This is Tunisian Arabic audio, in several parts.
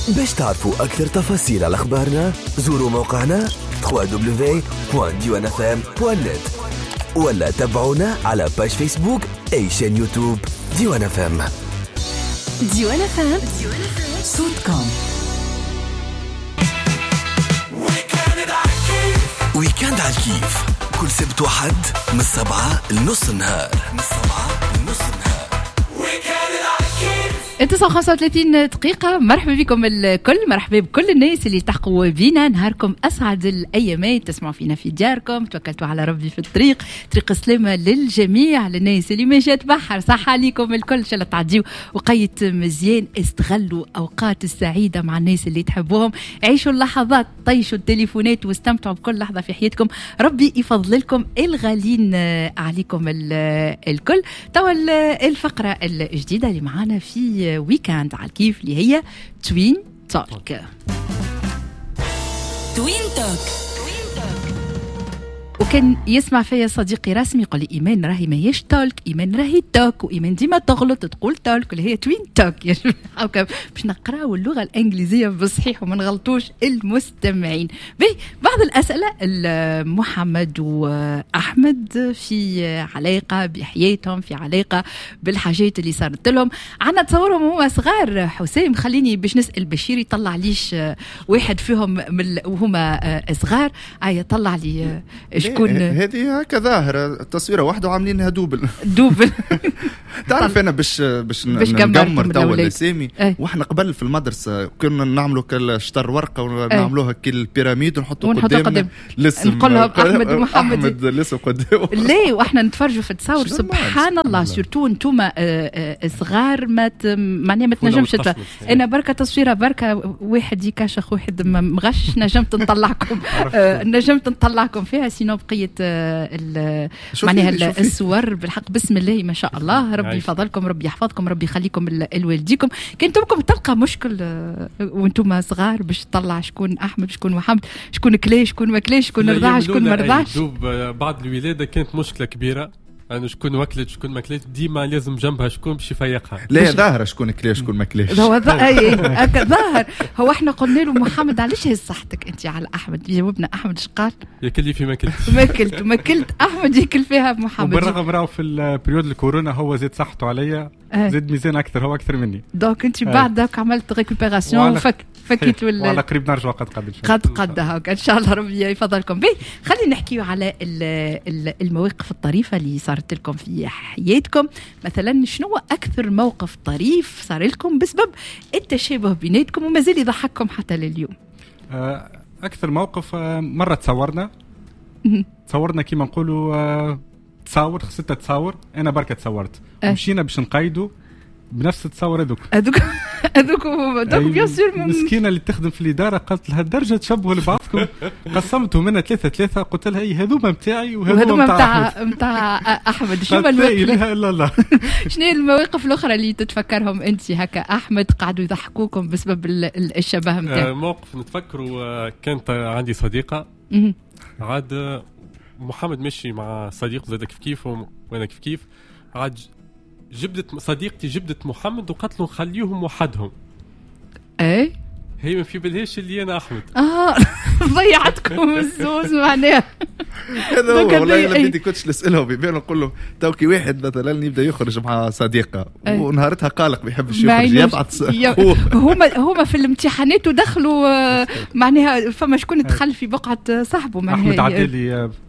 باش تعرفوا أكثر تفاصيل على أخبارنا زوروا موقعنا www.diwanfm.net ولا تابعونا على page Facebook et chaîne YouTube ديوان FM. ديوان FM صوتكم. week-end على الكيف كل سبت وحد من 7 لنص النهار، من 7 لنص النهار. 9:35 دقيقة. مرحبا بكم الكل، مرحبا بكل الناس اللي التحقوا بينا. نهاركم أسعد الأيامات، تسمعوا فينا في دياركم، توكلتوا على ربي في الطريق، طريق السلامة للجميع، للناس اللي ماشية تبحر، صح عليكم الكل، إن شاء الله تعديوا وقيت مزيان، استغلوا أوقات السعيدة مع الناس اللي تحبوهم، عيشوا اللحظات، طيشوا التليفونات واستمتعوا بكل لحظة في حياتكم. ربي يفضل لكم الغالين عليكم الكل. توا الفقرة الجديدة اللي معانا في week-end على الكيف اللي هي Twin Talk. Twin Talk. وكان يسمع فيا صديقي رسمي يقول لي ايمان راهي ماهيش talk، ايمان راهي talk، وايمان ديما تغلط تقول talk اللي هي Twin Talk. يا جماعة باش نقراو اللغة الانجليزية بالصحيح وما نغلطوش المستمعين. به بعض الاسئلة محمد واحمد في علاقة بحياتهم، في علاقة بالحاجات اللي صارت لهم، عندنا تصورهم هما صغار. حسام خليني باش نسال بشير يطلع ليش واحد فيهم وهما صغار. اي طلع لي شكون هذه هكا ظاهرة التصويرة واحدة وعاملينها double double. تعرف أنا باش نقمر توا الأسامي. واحنا قبل في المدرسة كنا نعملوا كالشطر ورقة ونعملوها كال pyramide ونحطوا قدامنا الاسم، نقول لهم أحمد ومحمد، أحمد الاسم قدامه. ليه واحنا نتفرجوا في التصاور سبحان الله، surtout انتوما صغار ما معناها ما تنجمش. أنا بركة تصويرة بركة واحد يكاشخ واحد مغش نجمت نطلعكم، نجمت نطلعكم فيها. sinon بقية معناها الصور بالحق بسم الله ما شاء الله، ربي يفضلكم، ربي يحفظكم، ربي يخليكم لوالديكم. كان تمكم تلقى مشكل وانتم صغار باش تطلع شكون احمد شكون محمد، شكون كلاش شكون ما كلاش، شكون رضع شكون ما رضعش. بعد الولادة كانت مشكلة كبيرة، أنا شكون وكلت شكون ما كلت، ديما لازم جنبها شكون باش يفيقها. لا ظاهرة شكون كلا شكون ما كلاش. هو ظاهر. هو احنا قلنا له محمد علاش هز صحتك انت على احمد، جاوبنا احمد اش قال؟ ياكل لي في ما كلت. ما كلت ما كلت احمد ياكل فيها محمد. وبالرغم راهو في ال période الكورونا هو زاد صحته عليا، زاد ميزان اكثر، هو اكثر مني. donc انت بعدك عملت récupération فكيت ولا وعلى قريب نرجع قد قد قد قد هاك ان شاء الله ربي يفضلكم. به خلينا نحكيو على المواقف الطريفة اللي صارت لكم في حياتكم. مثلا شنو اكثر موقف طريف صار لكم بسبب التشابه بيناتكم ومازال يضحككم حتى لليوم؟ اكثر موقف مرة تصورنا كيما نقولوا تصور 6 تصاور، انا بركة تصورت ومشينا باش نقيدوا بنفس التصور هذوك هذوك donc bien sûr. المسكينة اللي تخدم في الادارة قالت لها الدرجة تشبهوا لبعضكم، قسمتهم منها 3 قلت لها اي هذوما نتاعي وهذوما نتاع احمد. شنو المواقف شنو المواقف الاخرى اللي تتفكرهم انت هكا احمد قعدوا يضحكوكم بسبب الشبه نتاعك؟ موقف نتفكروا كانت عندي صديقه، عاد محمد مشي مع صديق زاد كيف كيف وانا كيف كيف، عاد جبدت صديقتي جبدت محمد وقالت له خليهم وحدهم. اي هي ما في بالهاش اللي انا احمد. ضيعتكم الزوز معناها. هذا هو والله انا بدي كنتش نسالهم بيبان نقول له تو كي واحد مثلا يبدا يخرج مع صديقه ونهارتها قالق ما يحبش يخرج يبعث هما في الامتحانات ودخلوا معناها فما شكون دخل في بقعة صاحبه معناها. احمد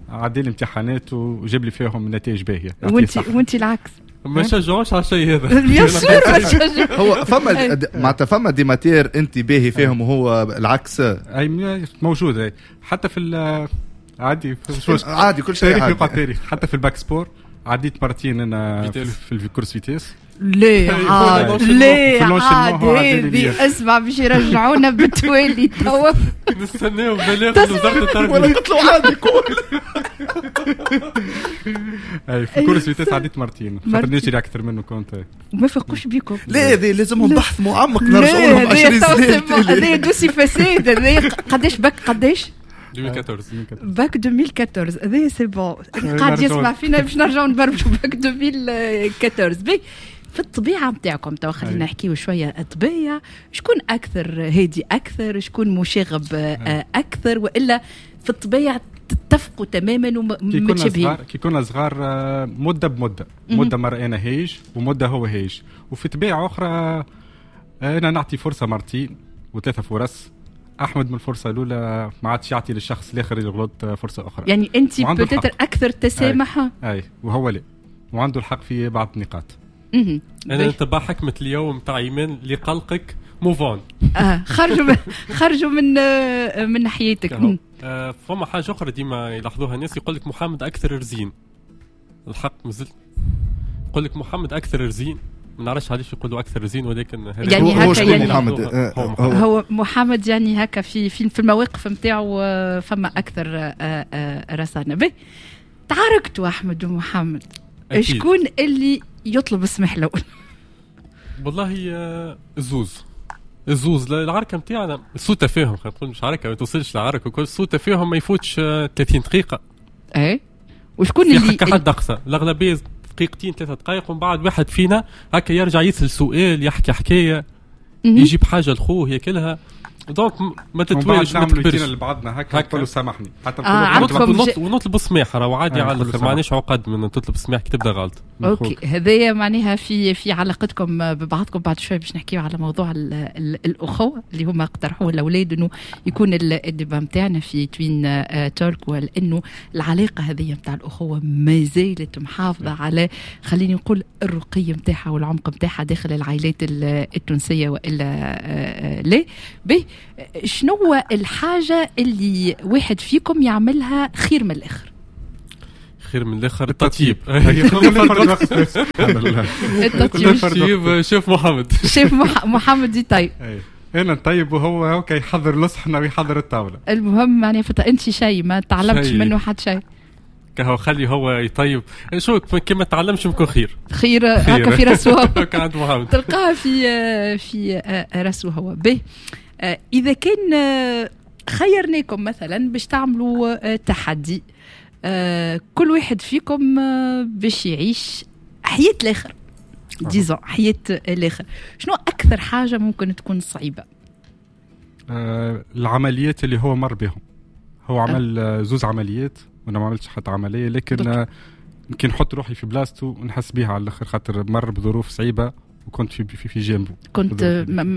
عدى لي امتحانات وجاب لي فيهم نتائج باهيه، وانت العكس ما شجعوش على الشيء هذا. bien sûr ما شجعوش. هو فما معناتها فما des matières انت باهي فيهم وهو العكس. اي موجود حتى في عادي عادي كل شيء عادي. تاريخ حتى في ال bac sport عديت مرتين انا في ال course vitesse. ليه عاد ليه عاد هذه اسمع باش يرجعونا بالتوالي توا نستناو بلاغ وزارة التربية ولا قلت له عادي كول. اي في course vitesse عديت مرتين خاطر نجري اكثر منه كنت. ما فاقوش بيكم. لا هذه لازمهم بحث معمق نرجعوا لهم 20 سنة. هذا dossier فساد. هذا قداش باك قداش 2014 باك 2014 هذا c'est bon قاعد يسمع فينا باش نرجعوا نبرمجوا باك 2014. بي في الطبيعة نتاعكم تو خلينا نحكيو شوية طبيعة، شكون اكثر هادي اكثر، شكون مشاغب اكثر، والا في الطبيعة تتفقوا تماما ومتشابهين؟ كي كنا صغار مده بمدة، مده مرة انا هايج ومده هو هايج، وفي طبيعة اخرى انا نعطي فرصة مرتين وثلاثة فرص، احمد من الفرصة الاولى ما عادش يعطي للشخص الاخر اللي غلط فرصة اخرى. يعني انت peut-être اكثر تسامح. اي وهو لا، وعنده الحق في بعض النقاط. انا نتبع حكمه اليوم تاع ايمان اللي قلقك move on. خرجوا من حياتك. فما حاجة اخرى ديما يلاحظوها الناس، يقول لك محمد اكثر رزين. الحق مازال يقول لك محمد اكثر رزين، ما نعرفش علاش يقولوا اكثر رزين، ولكن يعني هكا يعني محمد هو محمد يعني هكا في في المواقف نتاعو فما اكثر رصانه. به تعاركتوا احمد ومحمد، شكون اللي يطلب السمح الاول؟ والله الزوز العركه نتاعنا سوء تفاهم، خلينا نقول مش عركة، ما توصلش لعركه وكل، سوء تفاهم ما يفوتش 30 دقيقة. اي وشكون اللي كحد اقصى الاغلبية دقيقتين 3 دقائق، ومن بعد واحد فينا هكا يرجع يسأل سؤال، يحكي حكاية، يجيب حاجة لخوه ياكلها، donc ما تتوالش ما تكبرش لبعضنا هكا نقولوا سامحني حتى ونطلبوا السماح، راهو عادي على الاخر، ما عندناش عقد من تطلب السماح كي تبدا غلط. OK، هذايا معناها في علاقتكم ببعضكم. بعد شوي باش نحكيو على موضوع الاخوة اللي هما اقترحوه الاولاد انه يكون ال débat نتاعنا في Twin Talk، ولانه العلاقة هذه نتاع الاخوة ما زالت محافظة على خليني نقول الرقي نتاعها والعمق نتاعها داخل العائلات التونسية والا لا. به شنو الحاجة اللي واحد فيكم يعملها خير من الاخر؟ خير من الاخر التطيب. التطيب شوف محمد، شوف محمد يطيب. انا نطيب وهو هكا يحضر الصحنه ويحضر الطاولة. المهم معناها انت شيء ما تعلمتش منه حتى شيء، كهو خلي هو يطيب. شو كي ما تعلمش يمكن خير خير هكا في راسه، تلقاها في راسه هو. به إذا كان خيرناكم مثلا باش تعملوا تحدي، كل واحد فيكم باش يعيش حياة الآخر، disons حياة الآخر، شنو أكثر حاجة ممكن تكون صعيبة؟ العمليات اللي هو مر بهم. هو عمل زوز عمليات وأنا ما عملتش حتى عملية، لكن كي نحط روحي في بلاصته ونحس بيها على الآخر، خاطر مر بظروف صعيبة وكنت في جانبه. كنت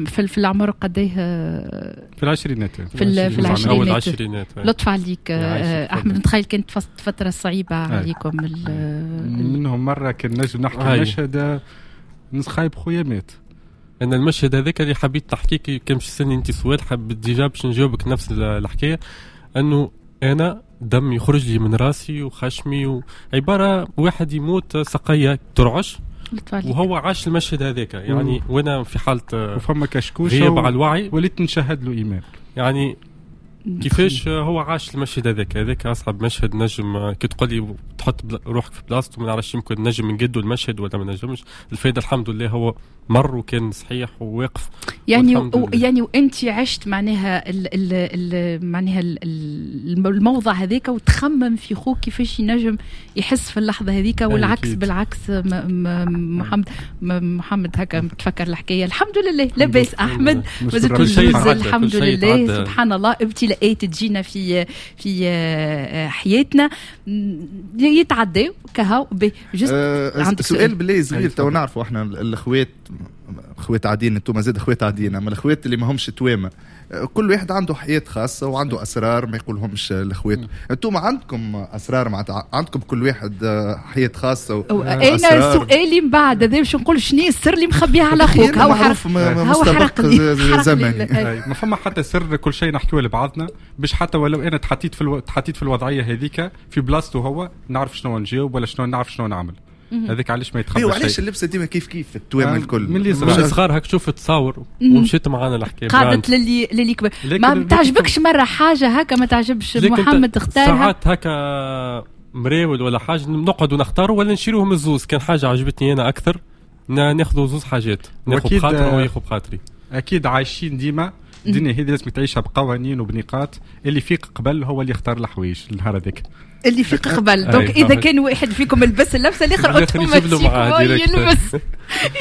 في العمر قديه؟ في العشرينات. في العشرينات. أول العشرينات. لطف عليك أحمد، نتخيل كانت فترة صعيبة عليكم. منهم مرة كان نجم نحكي مشهد نسخايب خويا مات. أنا المشهد هذاك اللي حبيت نحكيك كان باش تسألني أنت سؤال، حبيت déjà باش نجاوبك نفس الحكاية، أنه أنا دم يخرج لي من راسي وخشمي، وعبارة واحد يموت سقية ترعش، وهو عاش المشهد هذاك يعني. وانا في حاله وفما كشكوش غياب على الوعي، وليت نشهد له ايمان يعني كيفاش هو عاش المشهد هذاك. هذاك اصعب مشهد نجم كي تقول لي تحط روحك في بلاصته، ما نعرفش يمكن نجم نجدوا المشهد ولا ما نجمش. الفايدة الحمد لله هو مر وكان صحيح وواقف يعني يعني وانت عشت معناها معناها الموضع هذاك، وتخمم في خوك كيفاش ينجم يحس في اللحظة هذيك، والعكس بالعكس. محمد هكا تفكر الحكاية. الحمد لله لاباس احمد، الحمد لله سبحان الله. ابتلاءات تجينا في حياتنا يتعداو كهو. سؤال بالله صغير، تو نعرفوا احنا الاخوات، اخوات عاديين، انتم زاد اخوات عاديين، اما الاخوات اللي ما همش توامه كل واحد عنده حياة خاصة وعنده اسرار ما يقولهمش الاخوات. انتم عندكم اسرار، عندكم كل واحد حياة خاصة. انا سؤالي من بعد هذا باش نقول شنو السر اللي مخبيه على اخوك؟ هو حرق زمني، ما فما حتى سر، كل شيء نحكيه لبعضنا باش حتى ولو انا تحطيت في الوضعية هذيك في بلاصته هو، نعرف شنو نجاوب ولا شنو نعرف شنو نعمل. هذاك علاش ما يتخبى شيء. وعلاش اللبسه ديما كيف كيف التوام الكل من اللي صغار هاك تشوف تصاور ومشيت معانا الحكاية قعدت للي كبر. ما تعجبكش مرة حاجة هكا ما تعجبش محمد اختارها ساعات هكا مراول ولا حاجة نقعدوا نختاروا ولا نشيروهم الزوز. كان حاجة عجبتني انا اكثر ناخذوا زوز حاجات، ناخذ بخاطر وياخذ بخاطري. اكيد عايشين ديما الدنيا هذه لازم تعيشها بقوانين وبنقاط، اللي فيق قبل هو اللي يختار الحوايج النهار هذاك. اللي يفيق قبل. donc اذا كان واحد فيكم لبس اللبسه، الاخر automatiquement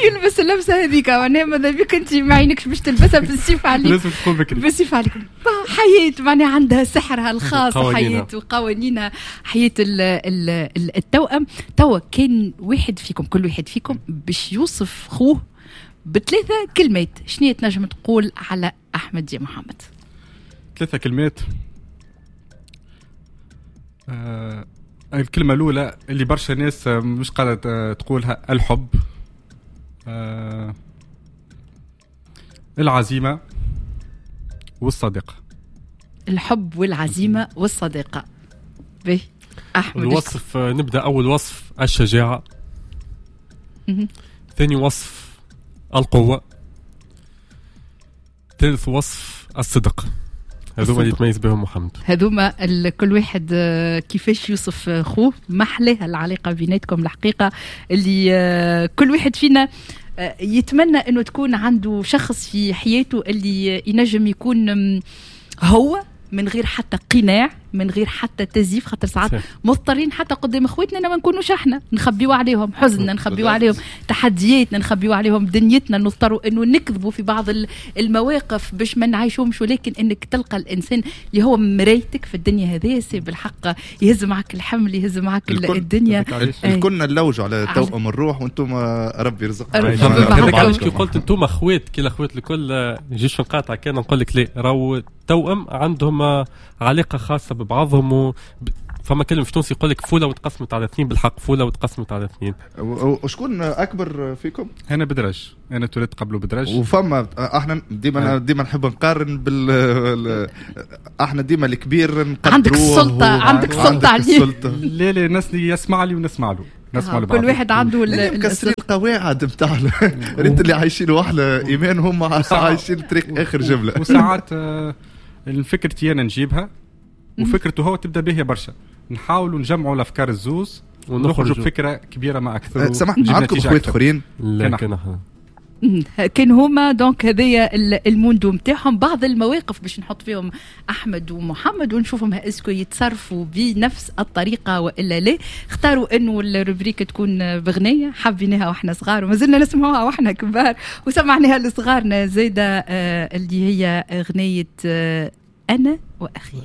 يلبس اللبسه هذيك. معناها ماذا بك انت ما عينكش باش تلبسها، بالسيف عليك. لازم تكون بكري. بالسيف عليك. حياة معناها عندها سحرها الخاص، حياة وقوانينها، حياة التوأم. توا كان واحد فيكم، كل واحد فيكم باش يوصف خوه بثلاثة كلمات، شنو تنجم تقول على أحمد يا محمد؟ 3 كلمات. الكلمة الأولى اللي برشا ناس مش قادرة تقولها، الحب، العزيمة، والصديقة. الحب والعزيمة والصديقة. به أحمد. الوصف، نبدأ أول وصف الشجاعة، ثاني وصف القوة، ثالث وصف الصدق. هذوما اللي يتميز بهم محمد. هذوما كل واحد كيفاش يوصف خوه. محلاها العلاقة بيناتكم الحقيقة، اللي كل واحد فينا يتمنى انه تكون عنده شخص في حياته اللي ينجم يكون هو من غير حتى قناع، من غير حتى تزييف، خاطر ساعات مضطرين حتى قدام اخواتنا ما نكونوش احنا، نخبيو عليهم حزننا، نخبيو عليهم تحدياتنا، نخبيو عليهم دنيتنا، نضطروا انه نكذبوا في بعض المواقف باش ما نعيشوهمش. ولكن انك تلقى الانسان اللي هو مرايتك في الدنيا هذه، c'est بالحق يهز معك الحمل، يهز معك الدنيا. الكلنا نلوجوا على توأم الروح، وانتم ربي يرزقكم. هذاك علاش كي قلت انتم اخوات كي الاخوات الكل، نجيش نقاطع كان نقول لك لا، راهو التوأم عندهم علاقة خاصة ببعضهم. فما كلمة في تونس يقول لك فولة وتقسمت على 2، بالحق فولة وتقسمت على 2. وشكون أكبر فيكم؟ أنا بدرج، أنا تولدت قبله بدرج. وفما احنا ديما نحب نقارن احنا ديما الكبير نقدروه. عندك السلطة، عندك السلطة عليه. لا لا، الناس يسمع لي ونسمع له. نسمع لبعض. كل واحد عنده مكسرين القواعد نتاع ريت اللي عايشين وحله ايمان، هم عايشين طريق اخر جملة. وساعات فكرتي انا نجيبها وفكرته هو تبدا به برشا، نحاولوا نجمعوا الافكار الزوز ونخرجوا بفكره كبيرة ما اكثر. سامحني، عندكم اخوات اخرين؟ لا، كان هما donc هذايا الموندو نتاعهم. بعض المواقف باش نحط فيهم احمد ومحمد ونشوفهم est-ce que يتصرفوا بنفس الطريقة والا لا. اختاروا انه ال rubrique تكون بغنيه حبيناها واحنا صغار ومازلنا نسمعوها واحنا كبار، وسمعناها لصغارنا زاده، اللي هي اغنية انا واخي.